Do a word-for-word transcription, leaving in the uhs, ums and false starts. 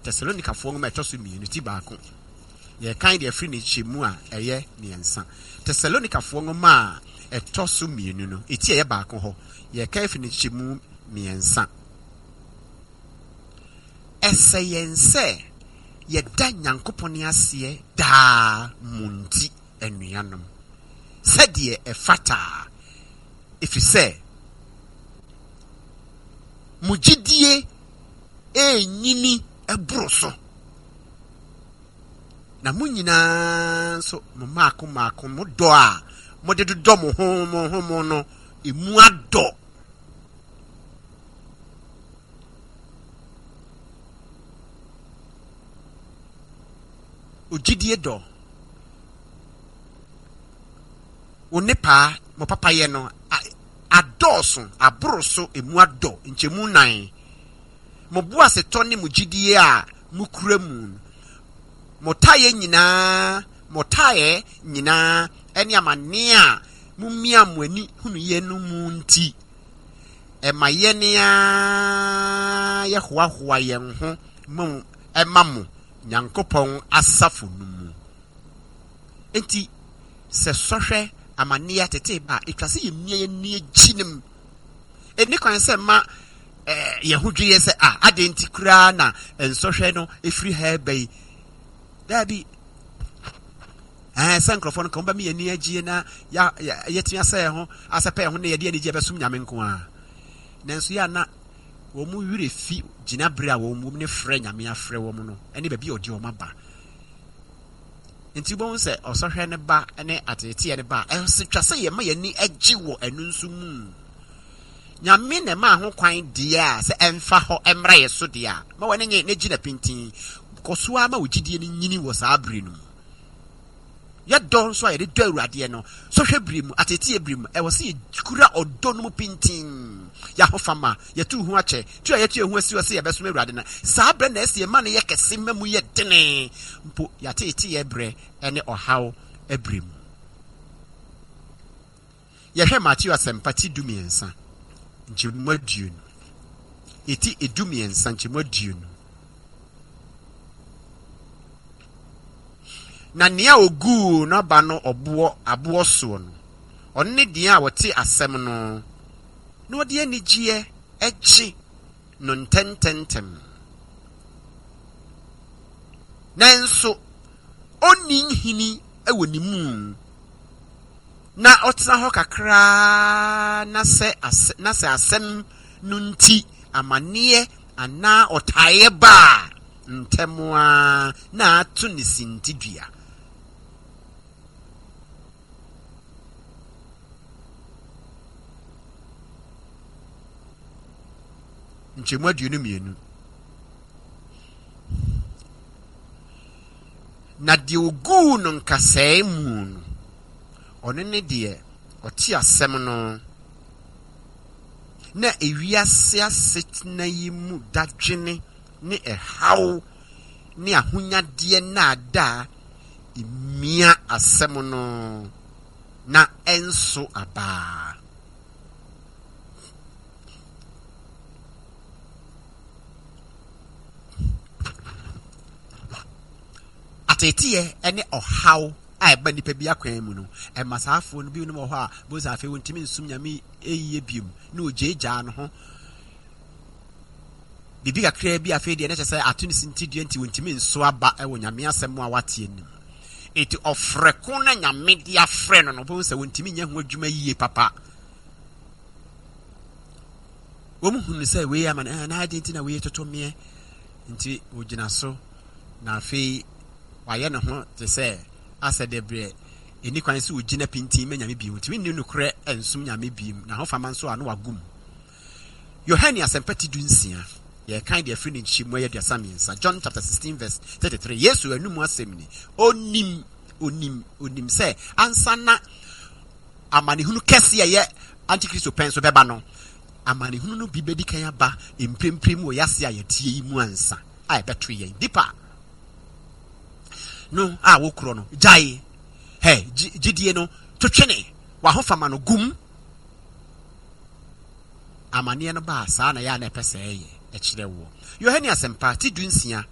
Tesalonikafoɔ nwoma ɛtɔ so mmienu ti baako, yɛkan deɛ ɛfiri ne nkyɛmu a ɛyɛ mmiɛnsa. Tesalonikafoɔ nwoma a ɛtɔ so mmienu no, eti a ɛyɛ baako hɔ, yɛkan firi ne nkyɛmu mmiɛnsa. Ɛsɛ yɛn sɛ yɛda Nyankopɔn aseɛ daa mo nti, anuanom, sɛdeɛ ɛfata, ɛfiri sɛ mo gyidie ɛrenyini boro so, na mo nyinaa nso mo mmaako mmaako mo dɔ a mode dodɔ mo ho mo ho mo no emu adɔ. Ogyidie dɔ wo ne paa mo papayɛ no adɔɔso aboro so, emu adɔ nkyɛmu nan. Mo boasetɔ ne mo gyidie a mokura mu no, mo taeɛ nyinaa mo taeɛ nyinaa ne amanneɛ a momia mo ani hunuiɛ no mu nti, ɛma yɛn ara yɛhoahoa yɛn ho mu ɛma mo Nyankopɔn asafo no mu. Enti sɛ sɔhwɛ, amanneɛ, atetee ba a, ɛtwa sɛ yɛmia yɛn ani akyi no mu. Ɛnni kwan sɛ ma eh, yɛn ho dwe yɛ sɛ, ah, adɛn nti koraa na nsɔhwɛ no ɛfiri ha ba yi? Daabi. Ɛɛ sɛ nkurɔfoɔ no ka wɔbɛma yɛn ani agye na yɛatumi asɛ yɛn ho asɛpɛ yɛn ho na yɛde anigye bɛsom Nyame nko ara. Nanso yɛ a na wɔn werɛ fi gyinaberɛ a wɔn wom ne frɛ Nyame afrɛ wɔn no ne baabi a ɔde wɔn aba. Nti wobɛhu sɛ ɔsɔhwɛ no ba ne ateeteɛ no ba a, ɛsɛ twa sɛ yɛma yɛn ani gye wɔ ɛno nso mu. Nyame na ɛmaa ho kwan deɛ a sɛ ɛmfa hɔ mmra yɛ so deɛ a, ma w'ani nye na gyina pintinn. Kɔ so ara ma wo gyidie no nyini wɔ saa bere no mu. Yɛdɔ nso a yɛde dɔ Awuradeɛ no, sɔhwɛ bere mu, ateeteɛ bere mu, ɛwɔ sɛ yɛkura ɔdɔ no mu pintinn. Yɛahofama, yɛtu ho akyɛ, tu a yɛtu yɛn ho asi hɔ sɛ yɛbɛsom Awurade no, saa berɛ na ɛsɛ yɛma no yɛ kɛse ma mu yɛ dene mpo yɛateeteɛ berɛ ne ɔhaw berɛ mu. Yɛhwɛ Mateo Asɛmpa ti dumiɛnsa nkyɛmu aduonu. Eti edumiɛnsa nkyɛmu aduonu. Na nea oguu n'aba no ɔboɔ aboɔ soɔ no, ɔno ne deɛ a wɔte asɛm no na ɔde anigyeɛ gye no ntɛmntɛmntɛm. Nanso onni nhini wɔ ne mu, na ɔtena hɔ kakraa na sɛ asɛ na sɛ asɛm no nti amanneɛ anaa ɔtaeɛ ba a, ntɛm ara na ato ne sintidua. Nkyɛmu aduonu mmienu. Na deɛ ɔguu no nkasɛɛ mu no, ɔno ne deɛ ɔte asɛm no, na ewiase asetena yi mu dadwene ne ɛhaw ne ahonyadeɛ nnaadaa mia asɛm no, na ɛnso aba. Ateeteɛ ne ɔhaw a ɛba nnipa bi akwan mu no, ɛma saa afoɔ no binom wɔ hɔ a bohu sɛ afei wɔntumi nsom Nyame yie biom, na wɔgyaagyaa no ho. Biribi kakraa bi afei deɛ na kyerɛ sɛ ato ne sintidua nti wɔntumi nso aba wɔ Nyame asɛm a wateɛ no mu. Enti ɔfrɛ ko na Nyame de afrɛ no no, bohu sɛ wɔntumi nyɛ ho adwuma yie papa. Wɔn hunu sɛ wei ama no, eh, na adɛn nti na wei toto meɛ? Nti wɔgyina so, na afei wayɛ ne ho te sɛ asɛ deɛ berɛ ɛni kwan sɛ ɔgyina pintin ma Nyame bio. Ntumi nni nokorɛ nsom Nyame bio, na ahofama nso a na wagu mu. Yohane Asɛmpa ti du nsia, yɛkan deɛ afiri ne nkyɛmu ɛyɛ aduasa mmiɛnsa. John chapter sixteen verse thirty-three. Yesu anum asɛm ni. Onim, onim, onim sɛ ansa na amanehunu kɛse a ɛyɛ antikristo pɛn so bɛba no, amanehunu no bi bɛdi kan aba mprempren mu wɔ yɛase a yɛteɛ yi mu ansa a ɛbɛto yɛn. Nipa no a wokorɔ no, gyae hɛ gyidie no, to twene w'ahofama no gum. Amanneɛ no baa saa na yɛ a na ɛpɛ sɛ ɛyɛ ɛkyerɛ woɔ. Yohane Asɛmpa ti du nsia.